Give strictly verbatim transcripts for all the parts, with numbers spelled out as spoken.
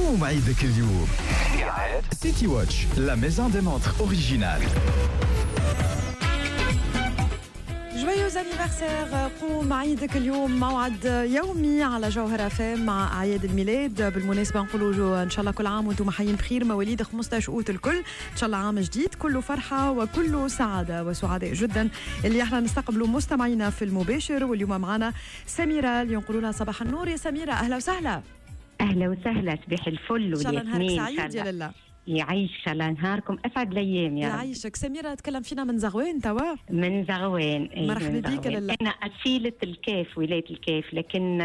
قوم عيدك اليوم. City Watch, la maison des montres originales. Joyeux anniversaire. قوم عيدك اليوم موعد يومي على جوهرة اف ام مع اعياد الميلاد. بالمناسبة نقولوا ان شاء الله كل عام وانتم حيين بخير، مواليد خمسطاش اوت الكل، ان شاء الله عام جديد كله فرحه وكله سعادة وسعداء جدا اللي احنا نستقبلوا مستمعينا في المباشر. واليوم معنا سميرة اللي نقولوا لها صباح النور يا سميرة، اهلا وسهلا. اهلا وسهلا، صباح الفل. ان شاء الله نهارك سعيد يا لله. يعيش، ان شاء الله نهاركم اسعد الايام يا رب. يعيشك سميرة. تكلم فينا من زغوان توا؟ من زغوان. مرحبا بك لله. انا اصيلة الكاف، ولاية الكاف، لكن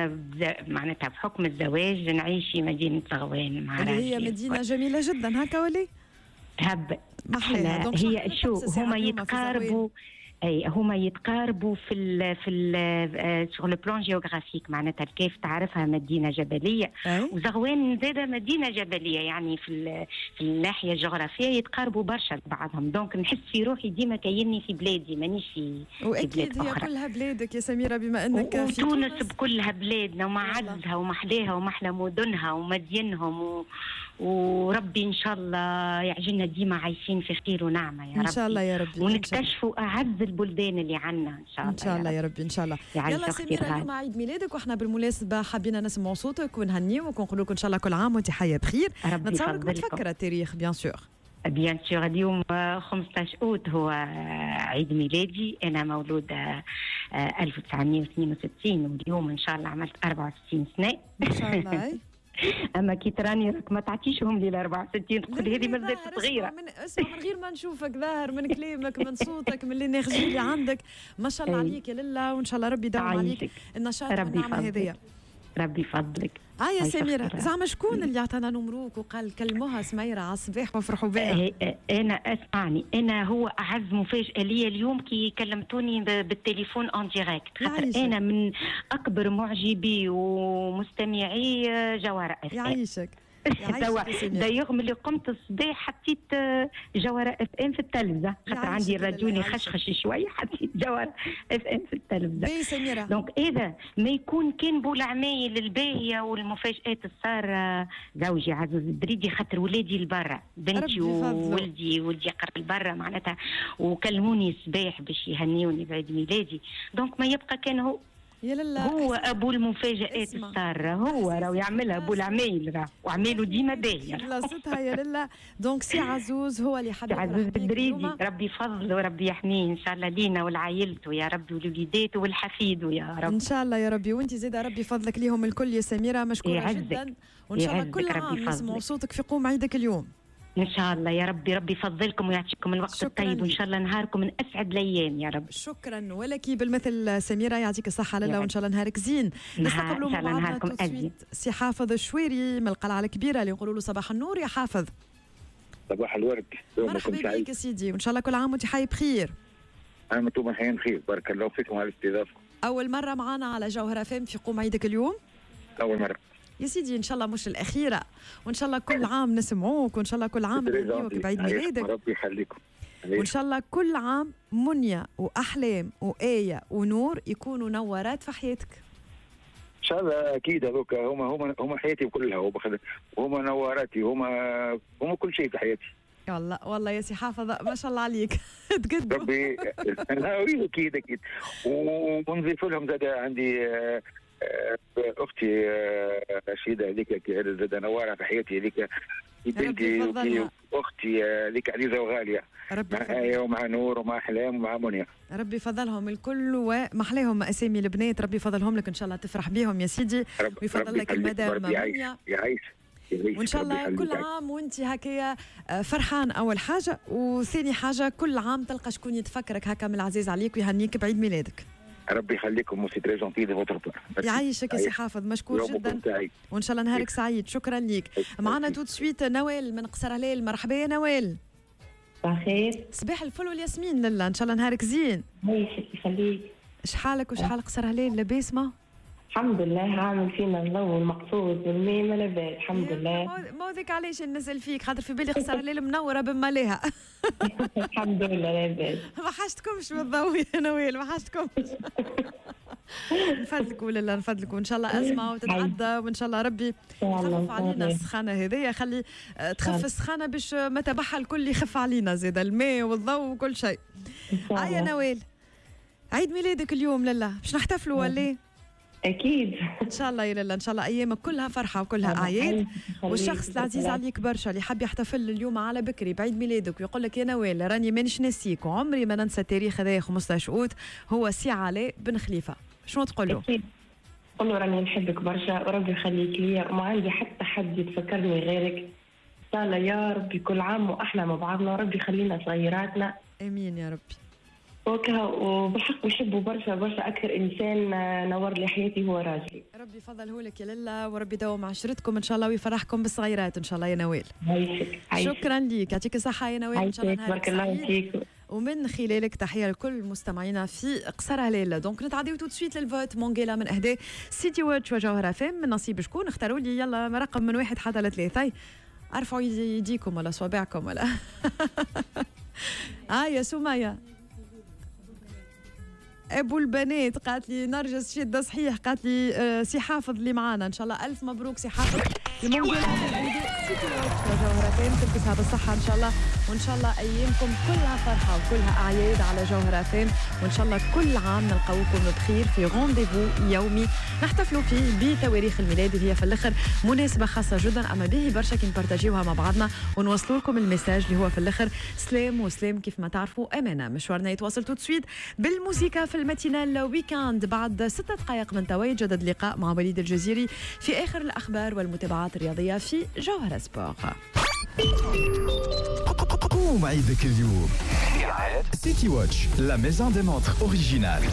معناتها بحكم الزواج نعيش في مدينة زغوان مع اللي هي مدينة جميلة جدا. هكا ولي؟ تهب هي شو هما يتقاربوا، اي هما يتقاربوا في ال في ال sur le plan géographique. معناتها الكاف تعرفها مدينة جبلية، أي؟ وزغوان زاده مدينة جبلية، يعني في في الناحية الجغرافية يتقاربوا برشا لبعضهم. donc نحس في روحي ديما كايني في بلادي، مانيش في في بلاد اخرى. هي كلها بلادك يا سميرة بما انك في تونس، بكلها بلادنا ومعزها ومحلاها ومحلى مدنها ومدينهم و... وربي ان شاء الله يعجلنا ديما عايشين في خير ونعمه يا رب ان شاء الله يا ربي، ونكتشفوا اعز البلدان اللي عنا ان شاء الله ان شاء الله يا ربي ان شاء الله. يلا سميرة، اليوم عيد ميلادك واحنا بالمناسبة حبينا نسمع صوتك ونهنيوك ونقول لك ان شاء الله كل عام وانت حيه بخير. نتصورك متفكره التاريخ bien sûr. bien sûr، اليوم خمسطاش اوت هو عيد ميلادي. انا مولودة ألف وتسعمية واثنين وستين، واليوم ان شاء الله عملت أربعة وستين سنة ان شاء الله. اما كي تراني راك ما تعطيشهم لي ال أربعة وستين، تقول هذه مازالت صغيرة. من اسمع، من غير ما نشوفك ظاهر من كلامك من صوتك من ال énergie اللي عندك، ما شاء الله عليك يا لله، وان شاء الله ربي يدوم عليك النشاط والنعمة هذيا. ربي يفضلك. اه يا سميرة، زعما شكون اللي عطانا نمروك وقال كلموها سميرة على الصباح وافرحوا بها؟ انا اسمعني، انا هو اعز مفاجاة لي اليوم كي كلمتوني بالتليفون en direct، خاطر انا من اكبر معجبي ومستمعي جوهرة اف ام. يعيشك. توا d'ailleurs ملي قمت الصباح حطيت جوهرة اف ام في التلفزة، خاطر عندي الراديو خشخش شوية، حطيت جوهرة اف ام في التلفزة. باهي سميرة. donc اذا ما يكون كان بولعمايل الباهيه والمفاجات الساره زوجي عزوز الدريدي، خاطر ولادي البرا، بنتي وولدي، ولدي قرا البرا معناتها، وكلموني الصباح باش يهنيوني بعيد ميلادي، donc ما يبقى كان هو يا لله. هو ابو المفاجآت الساره، هو راهو يعملها ابو العمايل، راه وعماله ديما باهيه بلاصتها يا لله. donc سي عزوز هو اللي حبيب عزوز الدريدي، ربي يفضله وربي يحميه ان شاء الله لينا ولعائلته يا ربي ولوليداته والحفيد يا رب ان شاء الله يا ربي. وانت زيد ربي يفضلك ليهم الكل يا سميرة، مشكورة يعزك. جدا، وان شاء الله كل عام نسمعوا صوتك في قوم عيدك اليوم ان شاء الله يا ربي. ربي يفضلكم ويعطيكم الوقت الطيب، وان شاء الله نهاركم من اسعد الايام يا رب. شكرا ولك بالمثل سميرة، يعطيك الصحة لله، وان شاء الله نهارك زين. نستقبلوا مع بعضنا سي حافظ الشويري من القلعة الكبيرة اللي نقولوا له صباح النور يا حافظ. صباح الورد، مرحبا بك يا سيدي، وان شاء الله كل عام وانت حي بخير. انا انتم حيين بخير، بارك الله فيكم على الاستضافة. اول مرة معنا على جوهرة اف ام في قوم عيدك اليوم؟ اول مرة يا سيدي، ان شاء الله مش الاخيرة، وان شاء الله كل عام نسمعوك، وان شاء الله كل عام نهنيوك بعيد ميلادك. ربي يخليكم، وان شاء الله كل عام منيا واحلام وايه ونور يكونوا نورات في حياتك ان شاء الله. اكيد هذوك هما هما هما حياتي كلها، هما نوراتي، هما هما كل شيء في حياتي. والله والله يا سي حافظ ما شاء الله عليك. تقدم ربي. اكيد اكيد، ونضيف لهم زاد عندي اختي رشيده، هذيك زاد نواره في حياتي، هذيك بنتي واختي هذيك عزيزه وغاليه، ربي مع آية ومع نور ومع احلام ومع منيا. ربي فضلهم الكل ومحلاهم اسامي البنات، ربي فضلهم لك ان شاء الله تفرح بيهم يا سيدي، ويفضل لك المدام منيا. يعيش وان شاء الله كل عام وانت هكايا فرحان اول حاجة، وثاني حاجة كل عام تلقى شكون يتفكرك هكا من العزيز عليك ويهنيك بعيد ميلادك. ربي يخليكم، c'est très gentil de votre part. يعيشك يا سي حافظ، مشكور جدا، وان شاء الله نهارك سعيد. شكرا ليك. معنا tout de suite نوال من قصر هلال. مرحبا يا نوال. صباح الخير. صباح الفل والياسمين لله، ان شاء الله نهارك زين. يعيشك يخليك. شحالك وشحال قصر هلال؟ لاباس ما؟ الحمد لله، عامل فينا الضوء المقصود والماء ما لاباس الحمد لله. ما ذيك علاش نسال فيك، خاطر في بالي قصر هلال منورة بماليها. الحمد لله لاباس. ما حاجتكمش بالضوء يا نوال، ما حاجتكمش. نفدلك ولا لا نفدلك، وان شاء الله ازمة وتتعدى، وان شاء الله ربي يخفف علينا السخانه هذيا، خلي تخف السخانه باش ما تبعها الكل يخف علينا زاد الماء والضوء وكل شيء. هيا نوال، عيد ميلادك اليوم لالا باش نحتفلوا ولا؟ اكيد ان شاء الله يا لالا، ان شاء الله ايامك كلها فرحه وكلها اعياد. والشخص العزيز عليك برشا اللي حاب يحتفل اليوم على بكري بعيد ميلادك ويقول لك يا نوال راني مانيش ناسيك وعمري ما ننسى التاريخ هذايا خمسطاش اوت، هو سي علاء بن خليفة، شنو تقول له؟ قول له راني نحبك برشا وربي يخليك ليا وما عندي حتى حد يتفكرني غيرك. ان شاء الله يا ربي كل عام واحنا مع بعضنا، وربي يخلينا صغيراتنا. امين يا ربي. وكا وبالحق نحبه برشا برشا، اكثر انسان نور لي حياتي هو راجلي. ربي يفضله لك يا لالا، وربي يدوم عشرتكم ان شاء الله ويفرحكم بالصغيرات ان شاء الله يا نوال. عايشك. شكرا ليك، يعطيك الصحة يا نوال، ان شاء الله نهارك بارك الله فيك. ومن خلالك تحية لكل مستمعينا في قصر هلال. donc نتعديو tout de suite لل vote مونجيلا من اهداء City Watch وجوهره فام من نصيب شكون؟ اختاروا لي يلا رقم من واحد حتى لثلاثة، ارفعوا يديكم ولا صوابعكم ولا اه يا سميه ابو البنات قالت لي نرجس شده صحيح، قالت لي آه سي حافظ اللي معانا، ان شاء الله الف مبروك سي حافظ المونجيلا جوهرة فام، تلبسها بالصحة ان شاء الله، وان شاء الله ايامكم كلها فرحه وكلها اعياد على جوهرة فام، وان شاء الله كل عام نلقاوكم بخير في rendez-vous يومي نحتفلوا فيه بتواريخ الميلاد اللي هي في الاخر مناسبة خاصة جدا، اما به برشا كي نبارتاجيوها مع بعضنا ونوصلوا لكم ال message اللي هو في الاخر سلام وسلام كيف ما تعرفوا امانه. مشوارنا يتواصل tout de suite بالموسيقى في ال matinale week-end بعد ست دقائق من توا يتجدد اللقاء مع وليد الجزيري في اخر الاخبار والمتابعات الرياضية في جوهرة سبور. قوم عيدك اليوم City Watch, la maison des montres originales.